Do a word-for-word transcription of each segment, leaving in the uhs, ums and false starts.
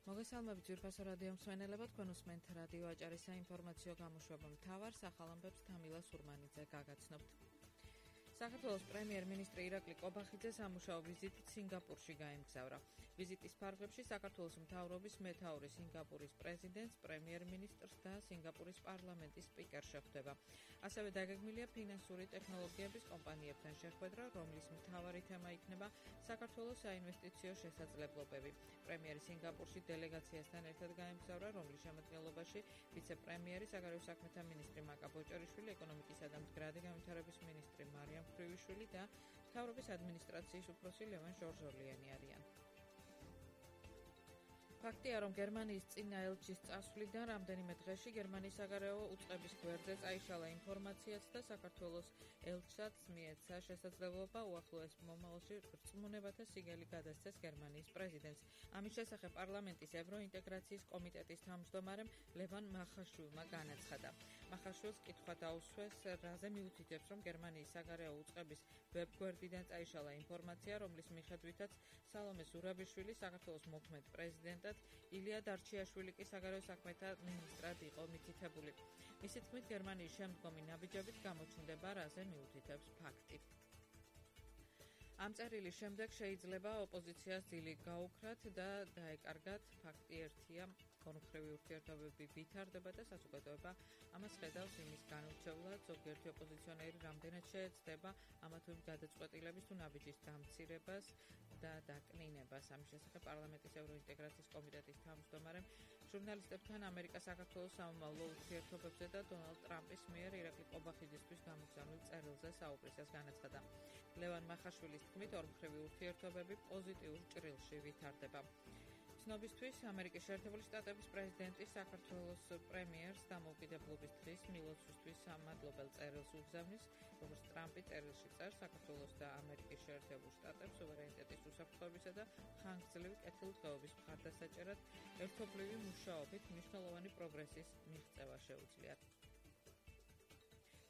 მოგესალმებით ძვირფასო რადიო მსმენელებო, თქვენ უსმენთ რადიო აჭარის საინფორმაციო გამოშვება მთავარ სახალამბებს თამილა სურმანიძე გაგაცნობთ. საქართველოს პრემიერ-მინისტრი ირაკლი კობახიძე სამუშაო ვიზიტით სინგაპურში გაემგზავრა. ვიზიტის ფარგლებში საქართველოს მთავრობის მეთაური სინგაპურის პრეზიდენტს, პრემიერ-მინისტრს და სინგაპურის პარლამენტის სპიკერს შეხვდება. ასევე დაგეგმილია ფინანსური ტექნოლოგიების კომპანიებთან შეხვედრა, რომლის მთავარი თემა იქნება საქართველოს საინვესტიციო შესაძლებლობები. პრემიერი სინგაპურში დელეგაციასთან ერთად გაემგზავრა, რომლის შემადგენლობაში ვიცე-პრემიერი, საგარეო საქმეთა მინისტრი მაკა ბოჭორიშვილი, ეკონომიკისა და მდგრადი განვითარების მინისტრი მარიამ ხვრივიშვილი და მთავრობის ადმინისტრაციის უფროსი ლევან ჟორჟოლიანი არიან. ფაქტია, რომ გერმანიის წინა ელჩის წასვლიდან რამდენიმე დღეში გერმანიის საგარეო უწყების გვერდზე წაიშალა ინფორმაციაც და საქართველოს ელჩსაც მიეცა შესაძლებლობა უახლოეს მომავალში რწმუნებათა სიგელი გადასცეს გერმანიის პრეზიდენტს. ამის შესახებ პარლამენტის ევროინტეგრაციის კომიტეტის თავმჯდომარემ ლევან მახაშვილმა განაცხადა. მახაშვილს კითხვა დაუსვეს, რაზე მიუთითებს, რომ გერმანიის საგარეო უწყების ვებგვერდიდან წაიშალა ინფორმაცია, რომლის მიხედვითაც სალომე ზურაბიშვილი საქართველოს მოქმედ პრეზიდენტად ილია დარჩიაშვილი კი საგარეო საქმეთა მინისტრად იყო მითითებული. მისი თქმით, გერმანიის შემდგომი ნაბიჯებით გამოჩნდება, რაზე მიუთითებს ფაქტი. ამ წერილის შემდეგ შეიძლება ოპოზიციას ძილი გაუქრათ და დაეკარგათ. ფაქტი ერთია, კონკრეტული ურთიერთობები ვითარდება და საზოგადოება ამას ხედავს იმის განურჩევლად, ზოგიერთი ოპოზიციონერი რამდენად შეეცდება ამა თუ იმ გადაწყვეტილების თუ ნაბიჯის დამცირებას და დაკნინებას. ამის შესახებ პარლამენტის ევროინტეგრაციის კომიტეტის თავმჯდომარემ ჟურნალისტებთან ამერიკა-საქართველოს სამომავლო ურთიერთობებზე და დონალდ ტრამპის მიერ ირაკლი კობახიძისთვის გამოგზავნილ წერილზე საუბრისას განაცხადა. ლევან მახაშვილის თქმით, ორმხრივი ურთიერთობები პოზიტიურ ჭრილში ვითარდება. ცნობისთვის, ამერიკის შეერთებული შტატების პრეზიდენტი საქართველოს პრემიერს დამოუკიდებლობის დღის მილოცვისთვის სამადლობელ წერილს უგზავნის, როგორც ტრამპი წერილში წერს, საქართველოს და ამერიკის შეერთებულ შტატებს სუვერენიტეტის უსაფრთხოებისა და ხანგრძლივი კეთილდღეობის მხარდასაჭერად ერთობლივი მუშაობით მნიშვნელოვანი პროგრესის მიღწევა შეუძლიათ.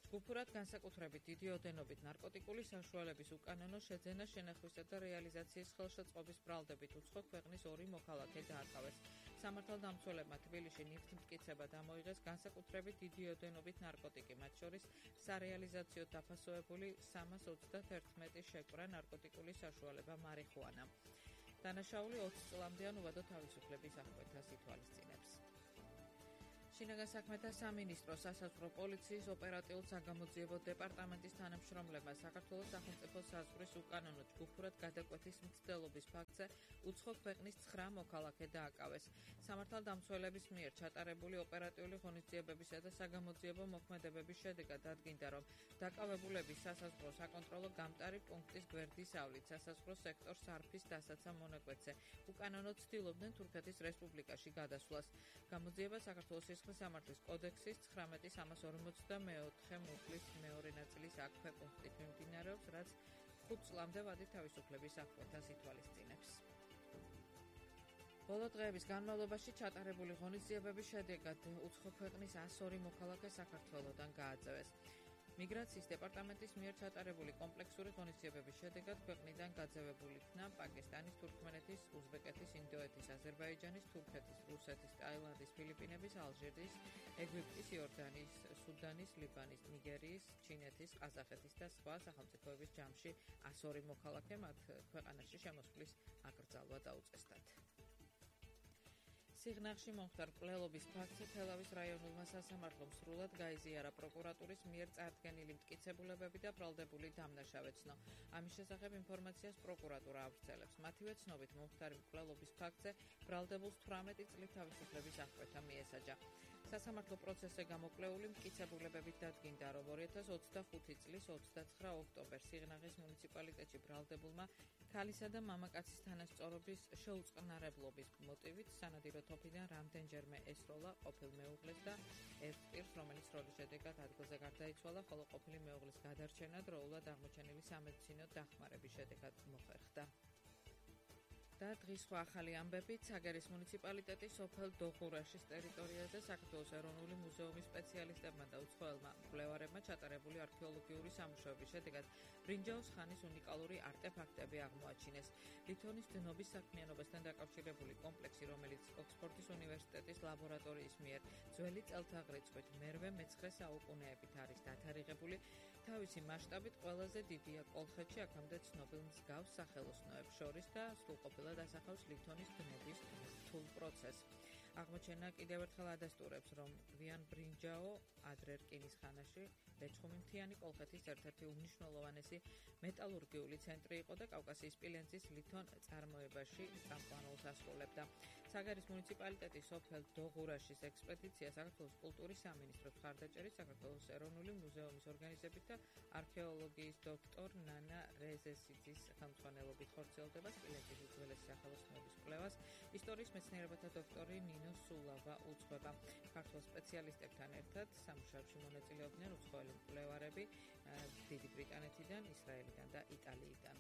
ჯგუფურად განსაკუთრებით დიდი ოდენობით ნარკოტიკული საშუალების უკანონო შეძენა, შენახვისა და რეალიზაციის ხელშეწყობის ბრალდებით უცხო ქვეყნის ორი მოქალაქე დააკავეს. სამართალდამცველებმა თბილისში ნივთმტკიცება დამოიღეს განსაკუთრებით დიდი ოდენობით ნარკოტიკი, მათ შორის სარეალიზაციო დაფასოებული სამას ოცდაერთმეტი შეკვრა ნარკოტიკული საშუალება მარიხუანა. დანაშაული ოცი წლამდე ან უვადო თავისუფლების აღკვეთას ითვალისწინებს. შინაგან საქმეთა სამინისტრო სასაზღვრო პოლიციის ოპერატიულ-საგამოძიებო დეპარტამენტის თანამშრომლებმა საქართველოს სახელმწიფო საზღვრის უკანონო ჯგუფურად გადაკვეთის მცდელობის ფაქტზე უცხო ქვეყნის ცხრა მოქალაქე დააკავეს. სამართალდამცველების მიერ ჩატარებული ოპერატიული ღონისძიებებისა და საგამოძიებო მოქმედებების შედეგად დადგინდა, რომ დაკავებულების სასაზღვრო საკონტროლო გამტარი პუნქტის გვერდის ავლით სასაზღვრო სექტორ სარფის დასაცავ მონაკვეთზე უკანონოდ ცდილობდნენ თურქეთის რესპუბლიკაში გადასვლას. გამოძიება საქართველოს სამართლის კოდექსის ცხრამეტი სამას ორმოცდამეოთხე მუხლის მეორე ნაწილის აქვე პუნქტით მიმდინარეობს, რაც ხუთ წლამდე ვადი თავისუფლების აღკვეთას ითვალისწინებს. ბოლო დღეების განმავლობაში ჩატარებული ღონისძიებების შედეგად უცხო ქვეყნის ას ორი მოქალაქე საქართველოდან გააძევეს. მიგრაციის დეპარტამენტის მიერ ჩატარებული კომპლექსური ღონისძიებების შედეგად ქვეყნიდან გაძევებული იქნა პაკისტანის, თურქმენეთის, უზბეკეთის, ინდოეთის, აზერბაიჯანის, თურქეთის, რუსეთის, ტაილანდის, ფილიპინების, ალჟირის, ეგვიპტის, იორდანიის, სუდანის, ლიბანის, ნიგერიის, ჩინეთის, ყაზახეთის და სხვა სახელმწიფოების ჯამში ას ორი მოქალაქე, მათ ქვეყანაში შემოსვლის აკრძალვა დაუწესდათ. სიღნაღში მომხდარ მკვლელობის ფაქტზე თელავის რაიონულმა სასამართლომ სრულად გაიზიარა პროკურატურის მიერ წარდგენილი მტკიცებულებები და ბრალდებული დამნაშავეცნო. ამის შესახებ ინფორმაციას პროკურატურა ავრცელებს. მათივე ცნობით მომხდარი მკვლელობის ფაქტზე ბრალდებულს თვრამეტი წლით თავისუფლების აღკვეთა მიესაჯა. სასამართლო პროცესზე გამოკვლეული მტკიცებულებებით დადგინდა, რომ ორი ათას ოცდახუთი წლის ოცდაცხრა ოქტომბერს სიღნაღის მუნიციპალიტეტში ბრალდებულმა ქალისა და მამაკაცის თანასწორობის შეუწყნარებლობის მოტივით სანადირო თოფიდან რამდენჯერმე ესროლა ყოფილ მეუღლეს და ერთ პირს, რომელიც როლის შედეგად ადგილზე გარდაიცვალა, ხოლო ყოფილი მეუღლის გადარჩენა დროულად აღმოჩენილი სამედიცინო დახმარების შედეგად მოხერხდა. და დღის სხვა ახალი ამბებით, საგერის მუნიციპალიტეტის სოფელ დოღურაშის ტერიტორიაზე საქართველოს ეროვნული მუზეუმის სპეციალისტებმა და უცხოელმა მკვლევარებმა ჩატარებული არქეოლოგიური სამუშაოების შედეგად ბრინჯაოს ხანის უნიკალური არტეფაქტები აღმოაჩინეს. ლითონის დნობის საქმიანობასთან დაკავშირებული კომპლექსი, რომელიც ოქსფორდის უნივერსიტეტის ლაბორატორიის მიერ ძველი წელთაღრიცხვით მერვე მეცხრე საუკუნეებით არის დათარიღებული, თავისი მასშტაბით ყველაზე დიდია კოლხეთში, აქამდე ცნობილ მსგავს სახელოსნოებს შორის და სრულყოფილად ასახავს ლითონის დნობის რთულ პროცესს. აღმოჩენა კიდევ ერთხელ ადასტურებს, რომ გვიან ბრინჯაო ადრე რკინის ხანაში ლეჩხუმი-მთიანი კოლხეთის ერთ-ერთი უმნიშვნელოვანესი მეტალურგიული ცენტრი იყო და კავკასიის სპილენძის ლითონ წარმოებაში წამყვანულს ასრულებდა. საგერის მუნიციპალიტეტის სოფელ დოღურაშის ექსპედიცია საქართველოს კულტურის სამინისტროს მხარდაჭერით, საქართველოს ეროვნული მუზეუმის ორგანიზებით და არქეოლოგიის დოქტორ ნანა რეზესიძის ხელმძღვანელობით ხორციელდება სპილენძის უძველესი სახელოსნოების კვლევას. ისტორიის მეცნიერებათა დოქტორი ნინო სულავა უძღვება. ქართულ სპეციალისტებთან ერთად სამუშაოებში მონაწილეობდნენ უცხოელი მკვლევარები დიდი ბრიტანეთიდან, ისრაელიდან და იტალიიდან.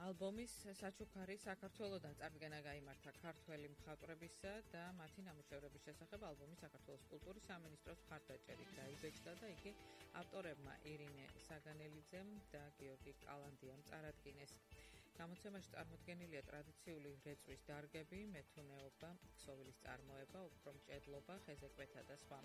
ალბომის საჩუქარი საქართველოდან წარდგენა გაიმართა ქართველი მხატვრებისა და მათი ნამუშევრების შესახებ ალბომის საქართველოს კულტურის სამინისტროს მხარდაჭერით დაიბეჭდა და იგი ავტორებმა ირინე საგანელიძემ და გიორგი კალანდიამ წარადგინეს. გამოცემაში წარმოდგენილია ტრადიციული რეწვის დარგები, მეთუნეობა, ქსოვილის წარმოება, ოქრომჭედლობა, ხეზეკვეთა და სხვა.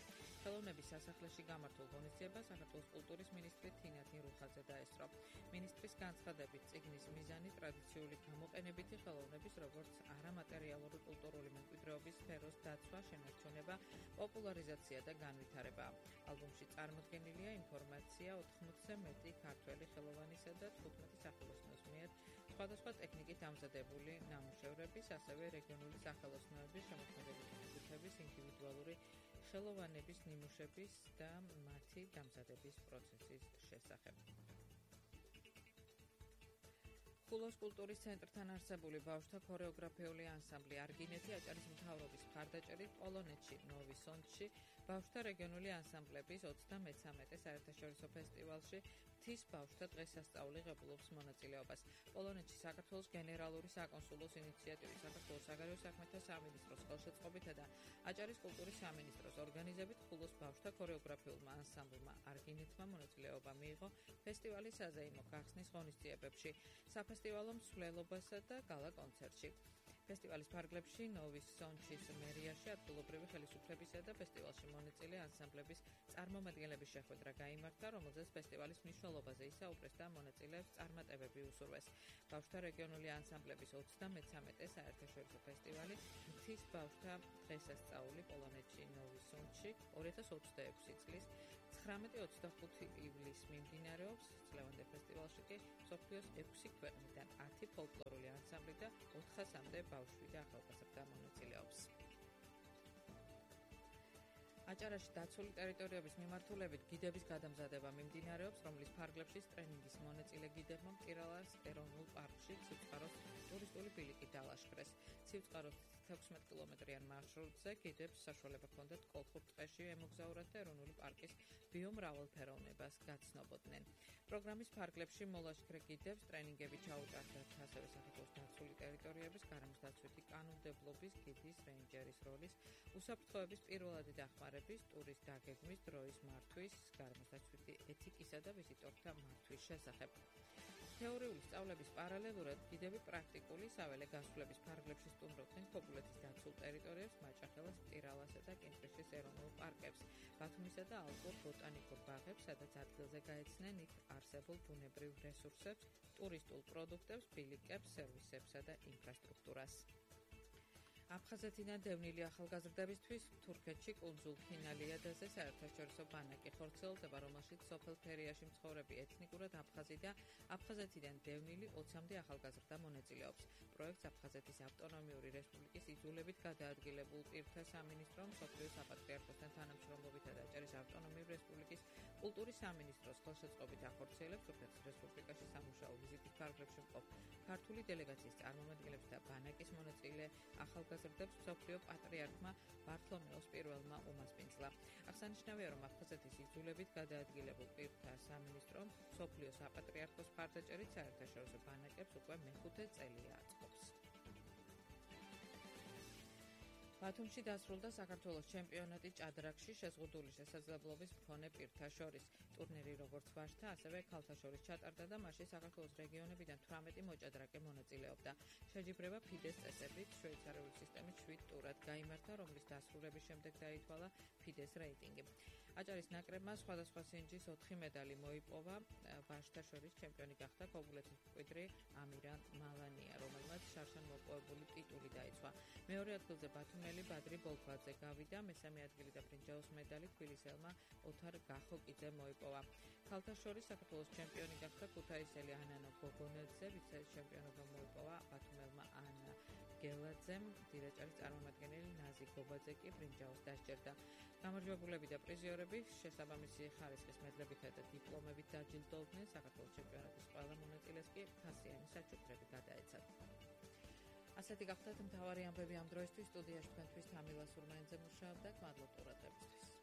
ხელოვნების სასახლეში გამართულ ღონისძიებას საქართველოს კულტურის მინისტრი თინა თინრუხაძე დაესწრო. მინისტრის განცხადებით, წიგნის მიზანი ტრადიციული გამოყენებითი ხელოვნების, როგორც არამატერიალური კულტურული მემკვიდრეობის სფეროს დაცვა, შენარჩუნება, პოპულარიზაცია და განვითარება. ალბომში წარმოდგენილია ინფორმაცია ოთხმოცზე მეტი ქართველი ხელოვანისა და თხუთმეტი სახელოსნოს მიერ სხვადასხვა ტექნიკით დამზადებული ნამუშევრების, ასევე რეგიონული სახელოსნოების, შემოქმედებითი ჯგუფების, ინდივიდუალური ხელოვანების ნიმუშების და მათი დამზადების პროცესის შესახებ. ხულოს კულტურის ცენტრთან არსებული ბავშვთა ქორეოგრაფიული ანსამბლი არგინეთი აჭარის მთავრობის მხარდაჭერით პოლონეთში, ნოვი-სონდში ბავშვთა რეგიონული ანსამბლების ოცდამეცამეტე საერთაშორისო ფესტივალში მთის ბავშვთა დღესასწაული ღებულობს მონაწილეობას. პოლონეთში საქართველოს გენერალური საკონსულოს ინიციატივით, საქართველოს საგარეო საქმეთა სამინისტროს ხელშეწყობითა და აჭარის კულტურის სამინისტროს ორგანიზებით ხულოს ბავშვთა ქორეოგრაფიულმა ანსამბლმა არგინეთმა მონაწილეობა მიიღო ფესტივალის საზეიმო გახსნის ღონისძიებებში, საფესტივალო მსვლელობასა და გალა კონცერტში. ფესტივალის ფარგლებში ნოვი-სონჩის მერიაში ადგილობრივი ხელისუფლებისა და ფესტივალში მონაწილე ანსამბლების წარმომადგენლების შეხვედრა გაიმართა, რომელზეც ფესტივალის მნიშვნელობაზე ისაუბრეს და მონაწილეებს წარმატებები უსურვეს. ბავშვთა რეგიონული ანსამბლების ოცდამეცამეტე საერთაშორისო ფესტივალი მთის ბავშვთა დღესასწაული პოლონეთში, ნოვი-სონჩში ორი ათას ოცდაექვსი წლის ცხრამეტი ოცდახუთი ივლისს მიმდინარეობს. წლევანდელ ფესტივალში კი მსოფლიოს ექვსი ქვეყნიდან ათი ფოლკლორული ანსამბლი და ოთხასამდე ბავშვი და ახალგაზრდა მონაწილეობს. აჭარაში დაცული ტერიტორიების მიმართულებით გიდების გადამზადება მიმდინარეობს, რომლის ფარგლებში ტრენინგის მონაწილე გიდებმა მტირალას ეროვნულ პარკში ცივწყაროს ტურისტული ბილიკი დალაშქრეს. ცივწყაროს თექვსმეტ კილომეტრიან მარშრუტზე გიდებს საშუალება ჰქონდათ კოლხურ ტყეში ემოგზაურათ და ეროვნული პარკის ბიომრავალფეროვნებას გაცნობოდნენ. პროგრამის ფარგლებში მოლაშქრე გიდებს ტრენინგები ჩაუტარდათ ასევე საქართველოს დაცული ტერიტორიების გარემოს დაცვითი კანონმდებლობის, გიდის, რეინჯერის როლის, უსაფრთხოების პირველადი დახმარების, ტურის დაგეგმის, დროის მართვის, გარემოს დაცვითი ეთიკისა და ვიზიტორთა მართვის შესახებ. თეორიული სწავლების პარალელურად გიდები პრაქტიკული საველე გასვლების ფარგლებში სტუმრობდნენ ქობულეთის დაცულ ტერიტორიებს, მაჭახელას, მტირალასა და კინტრიშის ეროვნულ პარკებს, ბათუმისა და ალპურ ბოტანიკურ ბაღებს, სადაც ადგილზე გაეცნენ იქ არსებულ ბუნებრივ რესურსებს, ტურისტულ პროდუქტებს, ბილიკებს, სერვისებსა და ინფრასტრუქტურას. აფხაზეთიდან დევნილი ახალგაზრდებისთვის თურქეთში კუნძულ ფინალიადაზე საერთაშორისო ბანაკი ხორციელდება, რომელშიც სოფელ ფერიაში მცხოვრები ეთნიკურად აფხაზი და აფხაზეთიდან დევნილი ოცამდე ახალგაზრდა მონაწილეობს. პროექტს აფხაზეთის ავტონომიური რესპუბლიკის იძულებით გადაადგილებულ პირთა სამინისტრომ, მსოფლიოს საპატრიარქოსთან თანამშრომლობითა და აჭარის ავტონომიური რესპუბლიკის კულტურის სამინისტროს ხელშეწყობით ახორციელებს თურქეთის რესპუბლიკაში სამუშაო ვიზიტის ფარგლებში მყოფ ქართული დელეგაციის წარმომადგენლებს და ბანაკის მონაწილე ახალგაზრდებს ახალგაზრდებს მსოფლიო პატრიარქმა ბართლომეოს პირველმა უმასპინძლა. აღსანიშნავია, რომ აფხაზეთის იძულებით გადაადგილებულ პირთა სამინისტრომ მსოფლიო საპატრიარქოს მხარდაჭერით საერთაშორისო ბანაკებს უკვე მეხუთე წელია აწყობს. ბათუმში დასრულდა საქართველოს ჩემპიონატი ჭადრაკში შეზღუდული შესაძლებლობის მქონე პირთა შორის. ტურნირი როგორც ვაჟთა, ასევე ქალთა შორის ჩატარდა და მასში საქართველოს რეგიონებიდან თვრამეტი მოჭადრაკე მონაწილეობდა. შეჯიბრება ფიდეს წესებით შვეიცარიული სისტემით შვიდ ტურად გაიმართა, რომლის დასრულების შემდეგ დაითვალა ფიდეს რეიტინგი. აჭარის ნაკრებმა სხვადასხვა სინჯის ოთხი медალი მოიპოვა. ვაჟთა შორის ჩემპიონი გახდა ქობულეთის მკვიდრი ამირან მალანია, რომელმაც შარშან მოპოვებული ტიტული დაიცვა. მეორე ადგილზე ბათუმელი ბადრი ბოლქვაძე გავიდა, მესამე ადგილი და ბრინჯაოს медალი თბილისელმა ოთარ გახოკიძემ მოიპოვა. ქალთა შორის საქართველოს ჩემპიონი გახდა ქუთაისელი ანანო გოგონეძე, ვიცე-ჩემპიონობა მოიპოვა ბათუმელმა ანა გელაძემ, დირეჭარის წარმომადგენელი ნაზი გობაძე კი ბრინჯაოს დასჯერდა. გამარჯვებულები და პრიზიორები შესაბამისი ხარისხის მედლებითა და დიპლომებით დაჯილდოვდნენ. საქართველოს ჩემპიონატის ყველა მონაწილეს კი ფასიანი საჩუქრები გადაეცათ. ასეთი გახლდათ მთავარი ამბები ამ დროისთვის. სტუდიაში თქვენთვის თამილა სურმენიძე მუშაობდა. მადლობთ ყურადღებისთვის.